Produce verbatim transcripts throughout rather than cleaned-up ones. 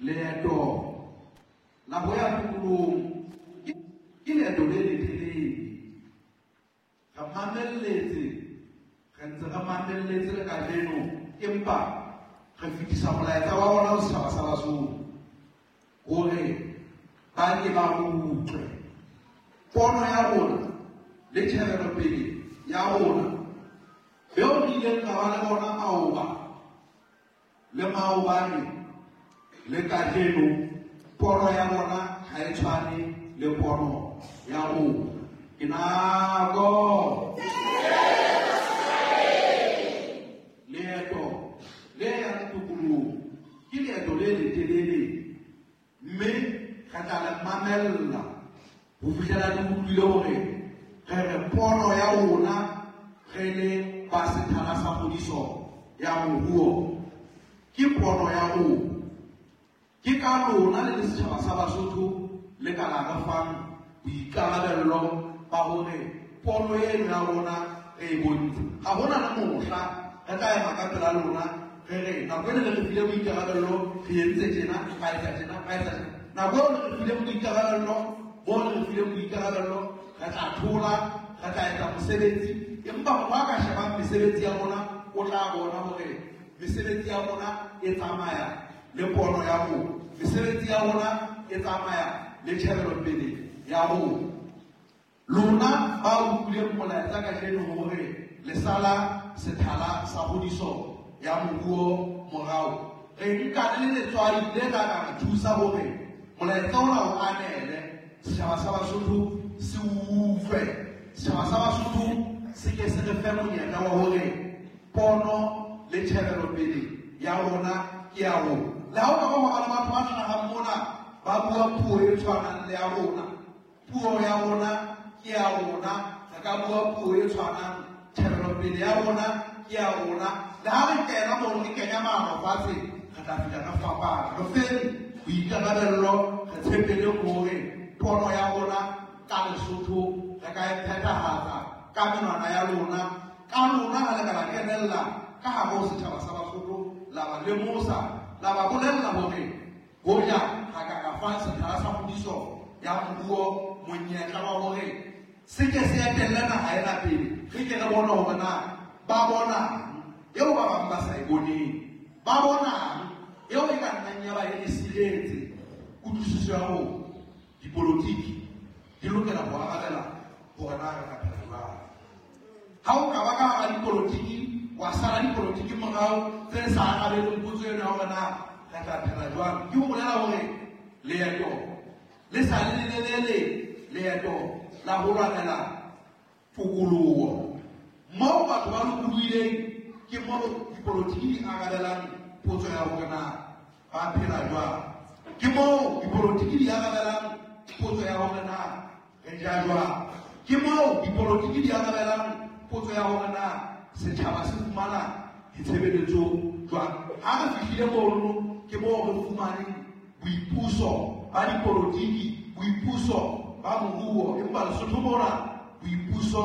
Leeto la ho ya tokolohong ke leeto le letelele. Re mamelletse, re ntse re mamelletse le kajeno, empa re fetisa molaetsa wa rona ho setjhaba sa Basotho hore ba ke ba utlwe pono ya rona le tjhebelopele ya rona beo re ileng ra ba le bona maoba le maobane le kajeno. Pono ya bona ha e tshwane le pono ya rona. Ke nako leeto le yang tokolohong ke leeto le letelele, mme re tla le mamella ho fihlela le utlwile hore re re pono ya rona re le ba sethala sa kgodiso ya moruo ke pono ya rona. Ke ka lona le le setjhaba sa Basotho le ka la re fang boikarabello ba hore pono eno ya rona re e bontshe. Ha hona le mohla re tla ema ka pela lona re re nako ena le re file boikarabello, re entse tjena, ra etsa tjena, ra etsa tjena. Nako eo le re fileng boikarabello, moo le re fileng boikarabello, re tla thola, re tla etsa mosebetsi. Empa motho a ka shebang mesebetsi ya rona o tla bona hore mesebetsi ya rona e tsamaya le pono ya rona, mesebetsi ya rona e tsamaya le tjhebelopele ya rona. Lona ba utlwileng molaetsa kajeno hore le sala sethala sa kgodiso ya moruo morao, re nka le letswai le tla ka re thusa hore molaetsa ona o anele setjhaba sa Basotho se utlwe. Setjhaba sa Basotho se ke se re fe monyetla wa hore pono le tjhebelopele ya rona ke ya rona. Le ha o ka ba ba le batho ba hlahang mona ba bua puo e tshwanang le ya rona, puo ya rona ke ya rona. Re ka bua puo e tshwanang, tjhebelopele ya rona ke ya rona. Le ha re kena mono re kenya maano fatshe, re tla fihla re fapana. Re feng boikarabello, re tshepele hore pono ya rona ka Lesotho re ka e phethahatsa ka menwana ya lona. Ka lona ha le ka la kenella ka hare ho setjhaba sa Basotho, la ba lemosa, la ba bolella hore hoja ha ka ka fa sethala sa kgodiso ya moruo monyetla wa hore se ke se etelle naha ena pele, re ke re bone hore na ba bonang eo ba bang ba sa e boneng, ba bonang eo e ka nnang ya ba e re siretse. Kutlwisiso ya hore dipolotiki di lokela ho arabela hore na re ka phela jwang. Ha o ka ba ka hara dipolotiki wa sala dipolotiki morao tse sa arabeleng potso eno ya hore na re tla phela jwang, ke ho bolela hore leeto le sa le lelelele, leeto la ho lwanela tokoloho moo batho ba lokolohileng, ke moo dipolotiki di arabelang potso ya hore na ba phela jwang. Ke moo dipolotiki di arabelang potso ya hore na re ja jwang. Ke moo dipolotiki di arabelang potso ya hore na setjhaba se fumana ditshebeletso jwang. Ha re fihlile mono, ke moo re fumaneng boipuso ba dipolotiki, boipuso ba moruo. Empa Lesotho mona boipuso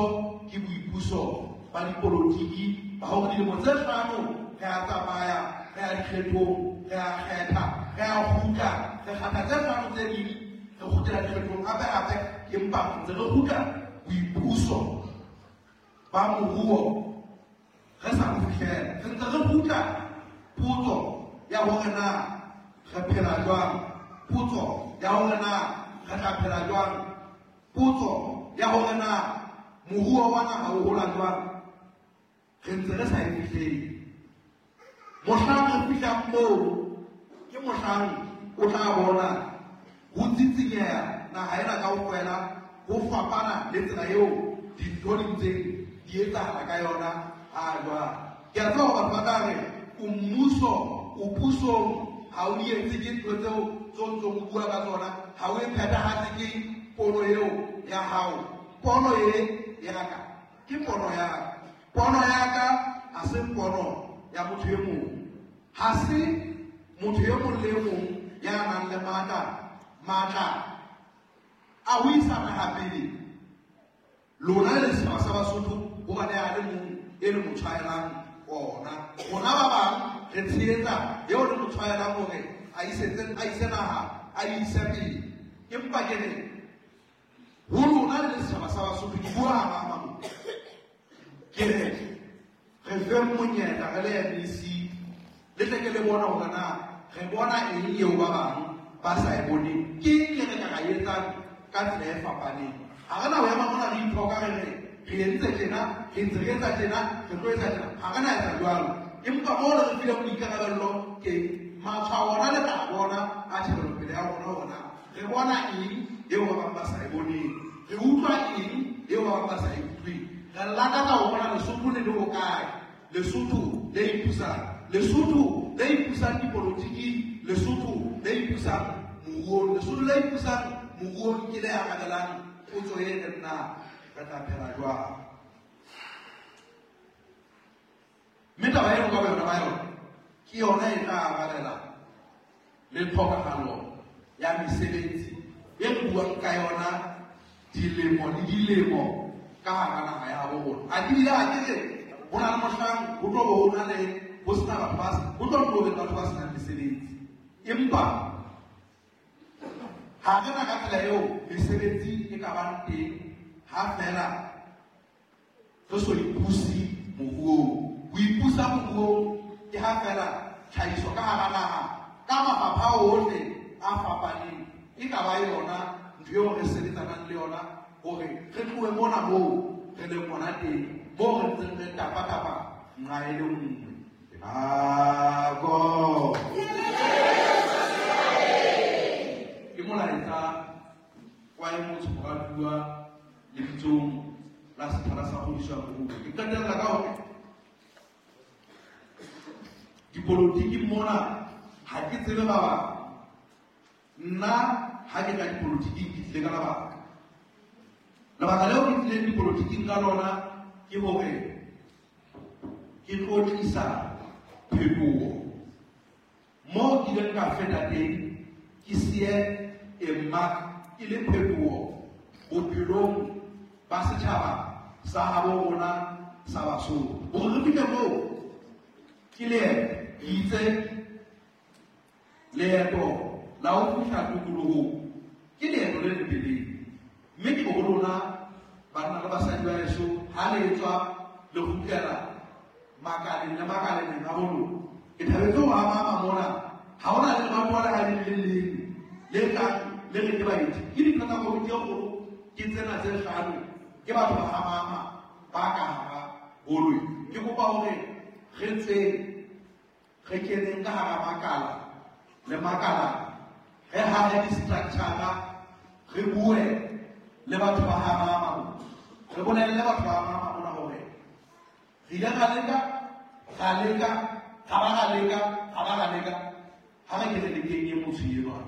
ke boipuso ba dipolotiki ba hore dilemo tse hlano re a tsamaya, re ya dikgethong, re a kgetha, re a kgutla, re kgetha tse hlano tse ding, re kgutlela dikgethong hape hape, empa ntse re kgutla boipuso ba moruo re sa bo fihlela. Re ntse re kgutla potso ya hore na re phela jwang, potso ya hore na re tla phela jwang, potso ya hore na moruo wa naha o hola jwang, re ntse re sa e fihlele. Mohlang re fihlang moo ke mohlang o tla bona ho tsitsinyeha naha ena kaofela, ho fapana le tsela eo dintho di ntseng di etsahala ka yona ha jwale. Ke a tseba hore batho ba tla re o mmuso, o pusong, ha o di etse ke ntho tseo tse o ntsong o bua ka tsona, ha o e phethahatse ke pono eo ya hao. Pono e ya ka ke pono ya ka. Pono ya ka ha se pono ya motho e mong. Ha se motho e mong le e mong ya nang le matla, matla a ho isa naha pele. Lona le setjhaba sa Basotho hobane a le mong e le mo tshwaelang ona. Rona ba bang re tshehetsa eo re mo tshwaelang hore a isetse a ise naha a ise pele. Empa ke re ho lona le setjhaba sa Basotho, ke bua ha mo ke re re fe monyetla re le M E C le tle ke le bona hore na re bona eng eo ba bang ba sa e boneng, ke eng e re ka ra etsang ka tsela e fapaneng. Ha re na ho ema mona re ithoka re re re entse tjena, re ntse re etsa tjena, re tlo etsa tjena. Ha re na etsa jwalo. Empa moo re re fileng boikarabello ke matshwao ona le tla bona a tjhebelopele ya rona hore na re bona eng eo ba bang ba sa e boneng, re utlwa eng eo ba bang ba sa e utlweng. Re lakatsa ho bona Lesotho le le hokae, Lesotho le ipusang, Lesotho le ipusang dipolotiking, Lesotho le ipusang moruong, Lesotho le ipusang moruong ke le arabelang potso e reng na re tla phela jwang. Mme taba eno ka boyona ba yona ke yona e tla arabela le tlhokahalo ya mesebetsi e re buang ka yona dilemo le dilemo ka hara naha ya habo rona. Ha ke bile ha ke re ho na le mohlang ho tlo bo ho na le ho sena batho ba ho tlo tlo be batho ba senang mesebetsi, empa ha re na ka tsela eo mesebetsi e ka bang teng ha fela re so ipuse moruong. Ho ipusa moruong ke ha fela tlhahiso ka hara naha ka mafapha ohle a fapaneng e ka ba yona ntho eo re sebetsanang le yona hore re tlohe mona moo re leng hona teng, moo re ntseng re tapa-tapa nqa e le nngwe. Nako ke molaetsa wa e motho moratuwa lebitsong la Sethala sa Kgodiso ya Moruo. Ke qetella ka hore dipolotiki mona ha ke tsebe ba bang. Nna ha ke tla dipolotiking ke tlile ka lebaka. Lebaka leo ke tlileng dipolotiking ka lona ke hore ke tlo tlisa phetoho. Moo ke ileng ka feta teng ke siye e mark e le phetoho bophelong ba setjhaba sa habo rona sa Basotho. Hore re fihle moo ke leeto, ke itse leeto la ho fihla tokolohong ke leeto le letelele. Mme ke ho lona banna le basadi ba heso ha le etswa le kgutlela makaleng le makaleng a bo lona. Ke thabetse ho ama mona ha hona le lebatowa le ha le le leng le tlang le re ke baeti. Ke dintho tsa komiti e kgolo ke tsena tse hlano ke batho ba Hamama ba ka hara holo. Ke kopa hore re tsweng re keneng ka hara makala le makala, re hahe di-structure, re bue le batho ba Hamama, re bolelle batho ba Hamama mona hore re ile ra leka, ra leka, ra ba ra leka, ra ba ra leka, ha re ke re lekeng e motho enwa.